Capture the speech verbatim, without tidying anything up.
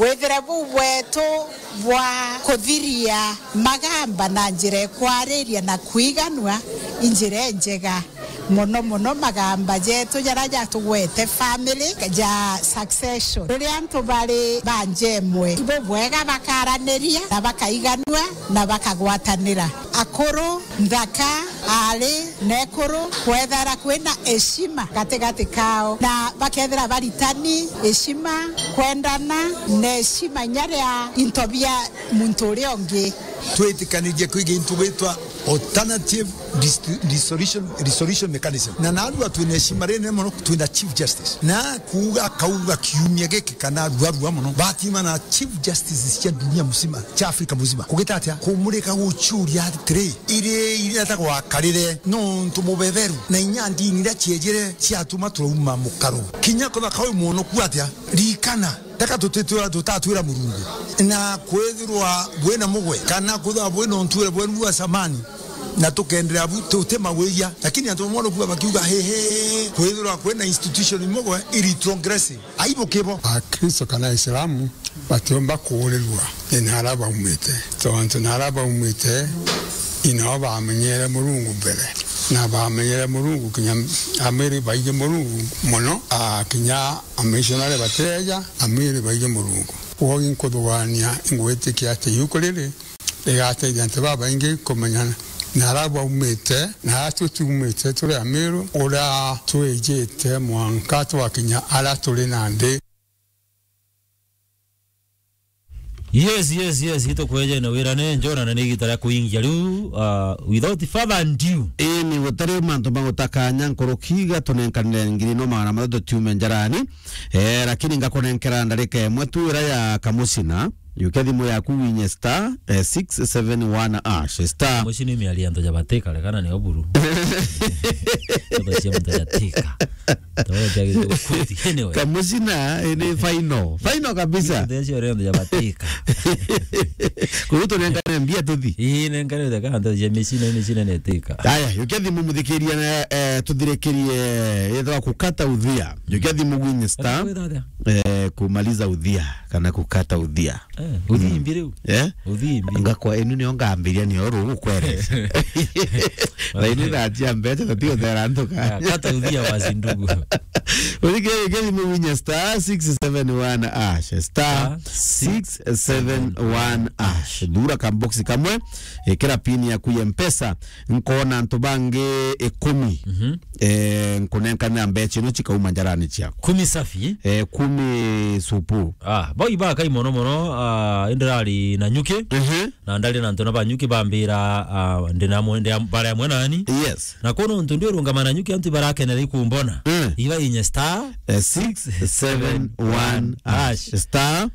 Withire buu bwetu bwa kuthiria magamba na njira ikwariria na kwiganua i njira injega. Mono mono magamba jetu jaria jatugwete family ja succession. Riria antu bari ba nja imwe, ibo bwega bakaraniria na bakaiganua na bakagwatanira. Akuru, nthaka, aari na ekuru, kwethira kwina heshima gatigati kao, na bakethira baritani heshima, kwendana na heshima inya ria into bia muntu uria ungi. Twitikanirie kwiga into gwitwa alternative distri-, dissolution, resolution mechanism. Na narua twina heshima rinene mono, twina Chief Justice. Na kuuga akauga kiumia giki kana ruarua mono, batima na Chief Justices cia dunia mzima, cia Afrika mzima. Kugita atia? Kumurika gucuria atiri, iri iria ta gwakarire, nontu mubeberu, na inya ndini iria ciejire ciatuma turauma mukaru. Kinya kuthaka uyu mwonoku atia? Ririkana, taka tutitwira, tutatwira Murungu. Na kwithirwa bwina mugwe, kana kwithirwa bwina untuire bwenu bwa samani, na tukenderea bu, tutimagwiria. Lakini antu bamwe nukuga bakiuga, "He, he, he, kwithirwa kwina institution imwe gwe iri transgressive." Aibu kibo. Akristo kana Islamu batiumba kuurirua ni nara baumite. Tontu nara baumite, inao bamenyere Murungu mbere. Na bamenyere Murungu kinya amiri baiji Murungu mono, a, kinya amishonari bateja, amiri baiji Murungu. Kwogu inkuthugania, ingwitikia ati yuku riri, rigatethia antu babaingi kumenyana nara baumite, na aria tutiumite turi Amiru, uria twijite mwanka twakinya aria turi nandi. Yes, yes, yes, itukwejene wirane, njona na ni igita ria kuingia riu, uh, without further ado. Ini gutari mantu ma gutakanya nkuruki, gatunenkanire ngiri no magana mathatu tiume njarani. Eh, lakini ngakunenkera ndarika imwe tu ira ya kamucina. Yukia thimu yaku winye star, eh, six seven one hash, star. Mucina ni miari antu ja batika, rekana ni oburu. Antu cia muntu jatika. Tawe tia gitukuti. Anyway. Kamucina, eh, ni final. Final kabisa. Antu cia antu ja batika. Kuruto nenkane mbia tuthi. Ii, nenkane utheka antu cia micina, micina ni tika. Aya, yukia thimu muthikiria na, eh, tuthirikirie, yethwa kukata uthia. Yukia thimu gwinye star. Wetha atia? Eh, kumaliza udhia kana kukata udhia. Eh, uthimbi riu. Eh? Uthimbi. Ngakwa inu nio ngambiria nio ru gukwereza. Na inu na njia mbeca tatiuthera ntuka. Ah, kata udhia wazi ndugu. Uthikire kiri muwinya star six seven one hash, star six seven one hash. Thura kamboksi kamwe, ikira pin yaku ya Mpesa, nkona antu bangi ikumi. Mhm. Eh, nkunenkanira mbeca ino cikauma njarani ciaku. Kumi safi? Eh, kumi supu. Ah, bau ibakai mono mono, ah, indirari na nyuki. Mhm. Na ndari na antu na ba nyuki bambira, ah, ndi na mwe-, ndi am-, bara amwe nani. Yes. Na kono ntu ndi urungama na nyuki antu barakenera ikumbona. Mm. Iba inye star, eh, six seven one hash. Star